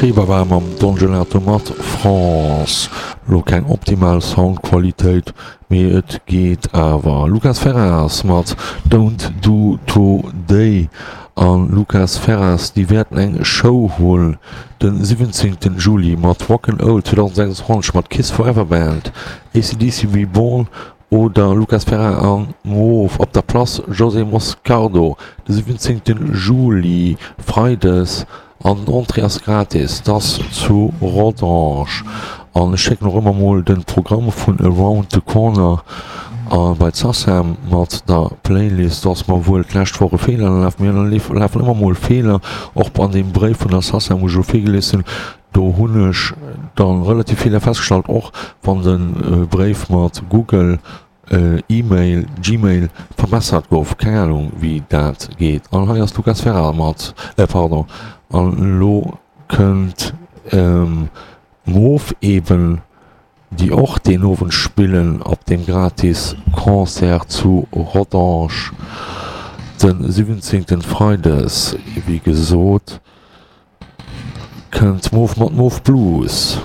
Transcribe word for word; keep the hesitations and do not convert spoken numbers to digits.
Chez Baba mam Don Gelato mat France. Lo keng optimal Soundqualitéit, mee et geet awer. Lucas Ferreras mat Don't Do Today an Lucas Ferreras déi wäerten eng Show hunn den siwwenzéngten Juli mat Rock 'n' Old zweedausendsechsundzwanzeg mat Kiss Forever Band, A C D C Reborn oder Lucas Ferreira an Mauve op der Place José Moscardo de siwwenzéngten Juli, Freides, an den Entrée ass gratis. T'ass zu Rodange. An ech schécken och ëmmer mol den Programm vun Around the Corner a bei d'Sacem mat der Playlist. Do ass mer wuel d'lescht Woch e Feeler ënnerlaf. Mir ënnerlafen ëmmer mol Feeler, och an deem Bréif vun der Sacem, wou ech elo virgelies hunn. Do hunn ech dann relativ Feeler festgestallt, och wann de Bréif mat Google E-Mail, Gmail, verbessert gouf. Keng Ahnung wéi dat geet. An hei ass Lucas Ferrer mat, pardon, an elo kënnt Mauve eben, déi och deen Owend spillen op deem gratis Concert zu Rodange den siwwenzéngten Freides. Wéi gesot kënnt Mauve mat Mauve Blues.